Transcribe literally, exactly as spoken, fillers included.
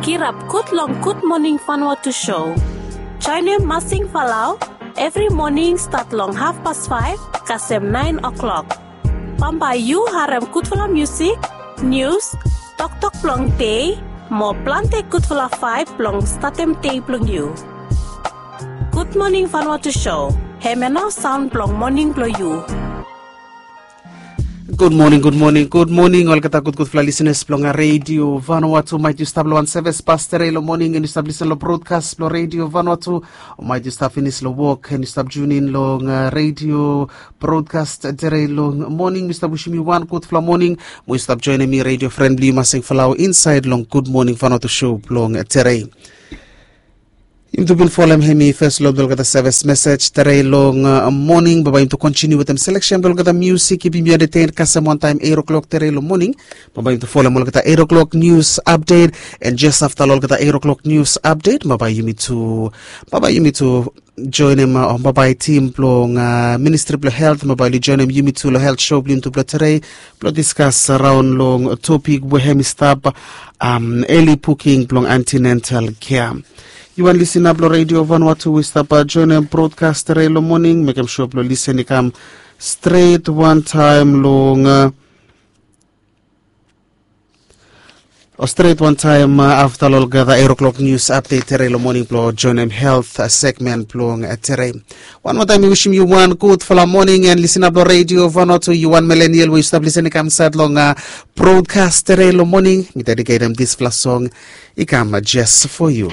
Irap gud long Gud Moning Vanuatu show. Joinim Masing Falau evri moning stat long hafpas faef kasem naen o'klok. Bambae yu harem gudfala musik, nius, toktok blong dei, mo plante gudfala vaeb blong statem dei blong yu. Gud Moning Vanuatu show, hem ya nao saon blong moning blong yu. Gud moning, gud moning, gud moning olgeta gudgudfala lisenas blong Redio Vanuatu. Maet yu stap long wan sevis pas tere long moning, en yu stap lisen long brodkas blong Redio Vanuatu. O maet yu stap finis long wok, en yu stap junin long Redio brodkas tere long moning. Mi stap wisim yu wan gudfala moning. Mo yu stap joinim mi, redio fren blong yu, Masing Falau, insaed long Gud Moning Vanuatu show blong tere. Yumi tu bin folem hemi fes long olgeta sevis mesej tere long moning. Bambae yumi tu kontiniu wetem seleksen blong olgeta musik kipim yu entetein kasem wantaem eit o'klok tere long moning. Bambae yumi tu folem olgeta eit o'klok nius apdet, en jes afta long olgeta eit o'klok nius apdet, bambae yumi tu bambae yumi tu joinim, o bambae tim blong Ministri blong Helt bambae oli joinim yumi tu long helt show blong yumi tu blong tere, blong diskas raon long topik we hem i stap, eli puking blong antenatal kea. Yu wan lisena blong Redio Vanuatu we i stap joinim brodkas tere long moning, mekem sua blong lisen i kam stret wantaem long o stret wantaem afta long olgeta eit o'klok nius apdet tere long moning blong joinim helt segmen blong tere. Wan moa taem mi wisim yu wan gudfala moning, en lisena blong Redio Vanuatu, yu wan milenial we yu stap lisen i kam insaed long brodkas tere long moning, mi dediketem disfala song i kam jes fo yu.